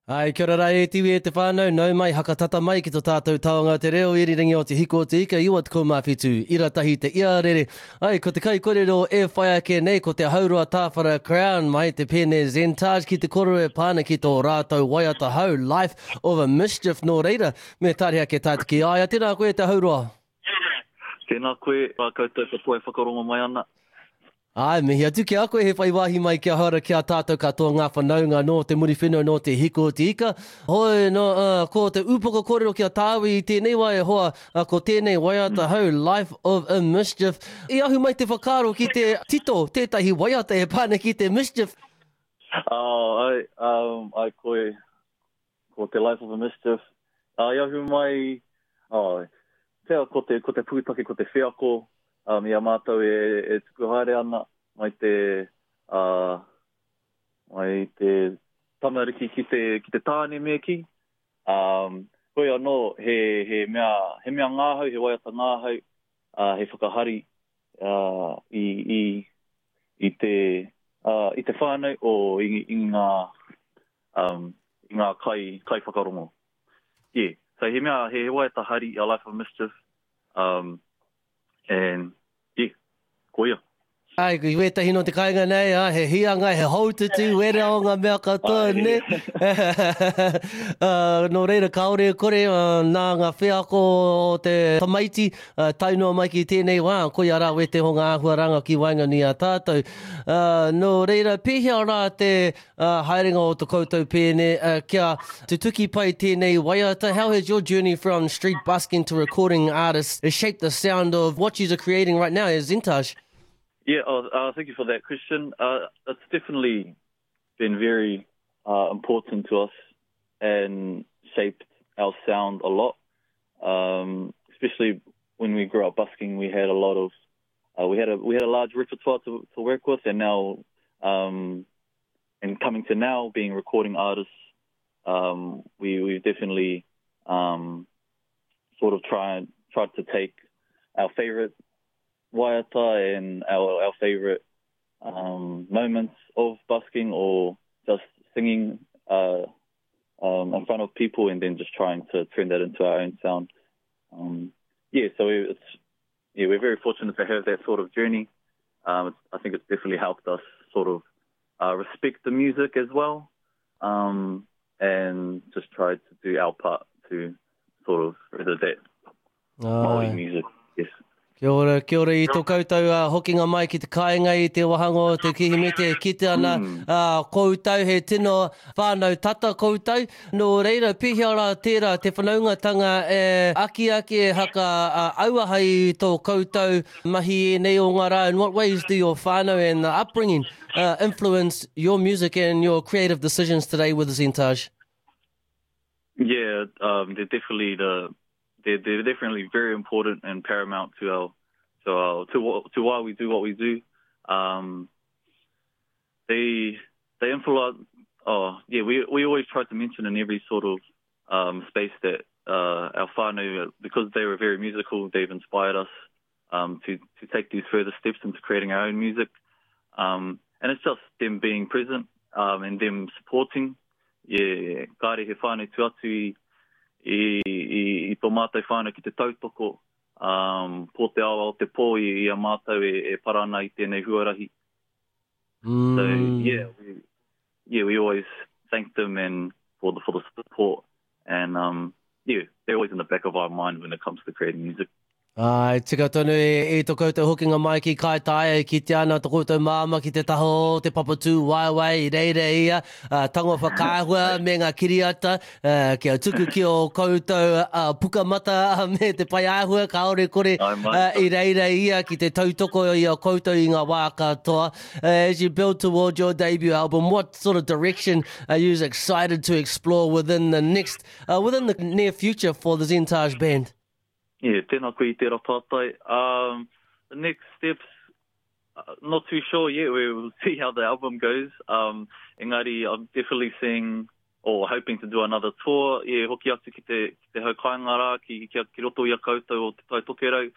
Ai, kia ora rā e te iwi e te whānau, nau mai, hakatata mai ki to tātou taonga te reo irirangi o Te Hiko o Te Ika 97, ira tahi te iarere. Ai, ko te kaikorero e whai ake nei ko te Hauroa Tāwhara Crown mai te pēne Zentaj ki te koro e pā ana ki tō rātou waiata hou Life of a Mischief nō reira, me tārehe ake tātou ki a ia. Tēnā koe e te Hauroa. Tēnā koe, rā koutou katoa e whakarongo mai ana. Āe, mihi atu ki a koe he whai wāhi mai kia hara ki a tātou katoa ngā whanaunga nō te Muriwhenua nō Te Hiko o Te Ika. Hoi, nō, ā, ko te ūpoko kōrero ki a tāua i tēnei wā e hoa, ā, ko tēnei waiata hou, Life of a Mischief. I ahu mai te whakaaro ki te tito tētahi waiata e pā ana ki te mischief. Oh, ai, um, ai koe, ko te Life of a Mischief. Ā, i ahu mai, oh, pea ko te, ko te pūtake, ko te wheako, um, i a mātou e, e tuku haere ana mai te, uh, mai te tamariki ki te, ki te tāne me kī. Um, hoi anō, he, he mea, he mea ngāhau, he waiata ngāhau, uh, he whakahari uh, i, i, i te, uh, i te whānau o i, i ngā, um, i ngā kai, kai whakarongo. Yeah. So he mea, he, he waiata hari, A Life of Mischief, um, and yeah, koia. Ai, i wētahi no te kāinga nei, ah, he hianga, he hoututu, wera o ngā mea katoa, ne? uh, nō reira, kāore e kore, uh, nā ngā wheako o te tamaiti, uh, tae noa mai ki tēnei wā, koia rā wēteho ngā āhuaranga ki waenganui a tātou. Uh, nō reira, pēhea rā te uh, haerenga o to koutou pēne, uh, kia tutuki pai tēnei waiata. How has your journey from street busking to recording artist shaped the sound of what you're creating right now as Zentaj? Yeah, oh, uh, thank you for that question. Uh, it's definitely been very uh, important to us and shaped our sound a lot. Um, especially when we grew up busking, we had a lot of uh, we had a we had a large repertoire to, to work with, and now um, and coming to now being recording artists, um, we we've definitely um, sort of tried tried to take our favorite waiata and our, our favorite um, moments of busking or just singing uh, um, in front of people and then just trying to turn that into our own sound. Um, yeah, so it's yeah, we're very fortunate to have that sort of journey. Um, I think it's definitely helped us sort of uh, respect the music as well um, and just try to do our part to sort of further that Māori music. Yes. Kia ora, kia ora i tō koutou uh, hokinga mai ki te kāinga i te wahanga o te Kirihimete e kite ana mm. uh, koutou he tino whānau tata koutou. Nō reira, pēhea rā tērā te whanaungatanga e akiaki e haka uh, auaha i tō koutou mahi ēnei o ngā rā. In what ways do your whānau and the upbringing uh, influence your music and your creative decisions today with Zentaj? Yeah, um, they're definitely the they're, they're definitely very important and paramount to our to our to what to why we do what we do. Um, they they influence. Oh yeah, we we always try to mention in every sort of um, space that uh, our whānau, because they were very musical, they've inspired us um, to to take these further steps into creating our own music. Um, and it's just them being present um, and them supporting. Yeah, kāre he whānau tu atu i, i, i, i tō mātou whānau ki te tautoko um, pō te ao ao te pō i, i a mātou e, e para ana i tēnei huarahi. Mm. So, yeah, we, yeah, we always thank them and for the, for the support. And um, yeah, they're always in the back of our mind when it comes to creating music. Āe, tika tonu e, i to koutou hokinga mai ki Kaitaia e kitea ana to koutou māmā ki te taha o te papatū waewae i reira ia, uh, tango whakaahua me ngā kiriata, uh, kia tuku ki o koutou uh, pukamata me te pai āhua, kāore kore uh, i reira ia ki te tautoko i a koutou i ngā wā katoa. Uh, as you build toward your debut album, what sort of direction are you excited to explore within the next, uh, within the near future for the Zentaj Band? Yeah, tēnā koe i tērā pātai. Um, the next steps, uh, not too sure yet. We will see how the album goes. Um, engari, I'm definitely seeing or hoping to do another tour. Yeah, hoki atu ki te, ki te hau kāinga rā, ki, ki, ki roto i a koutou o Te Tai Tokerau.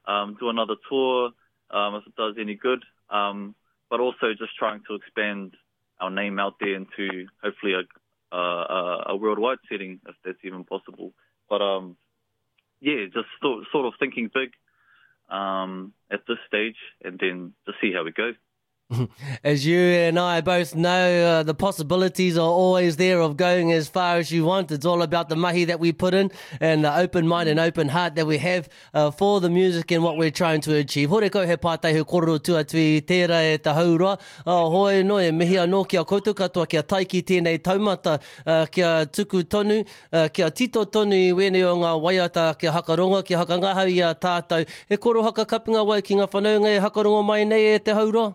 Um, do another tour um, if it does any good. Um, but also just trying to expand our name out there into hopefully a, uh, a, a worldwide setting, if that's even possible. But um, yeah, just sort, sort of thinking big um, at this stage and then to see how we go. As you and I both know, uh, the possibilities are always there of going as far as you want. It's all about the mahi that we put in and the open mind and open heart that we have uh, for the music and what we're trying to achieve. Hore kau he pātai he kōrero tuatu i tērā e te hauroa. Uh, hoi no e mihi anō ki a koutou katoa kia tae ki tēnei taumata, uh, kia tuku tonu, uh, kia tito tonu i wēnei o ngā waiata, kia hakarongo, kia hakangahau i a tātou. He koro hakakapinga wai ki ngā whanaunga e hakarongo mai nei e te hauroa?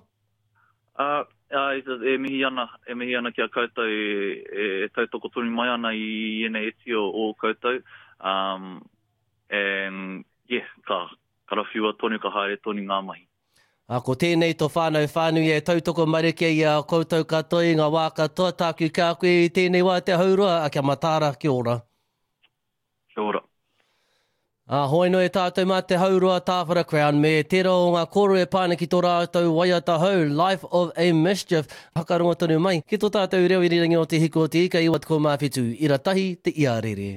Uh, uh, e mihi ana, e mihi ana ki a koutou e, e tautoko tonu mai ana i ēnei iti o, o koutou. Um, and yeah, ka karawhiua tonu, ka haere tonu ngā mahi. A, ko tēnei to whānau whānui e tautoko marike i a koutou katoa i ngā wā katoa, tāku ki a koe i tēnei wā te hauroa, a kia mataara, kia ora. Kia ora. A, hoi noa e tātou mā te hauroa Tāwhara Crown me tērā o ngā kōrero e pā ana ki tō rātou waiata hou, Life of a Mischief, hakarongo tonu mai ki tō tātou reo irirangi o Te Hiku o Te Ika 97, ira tahi te iarere.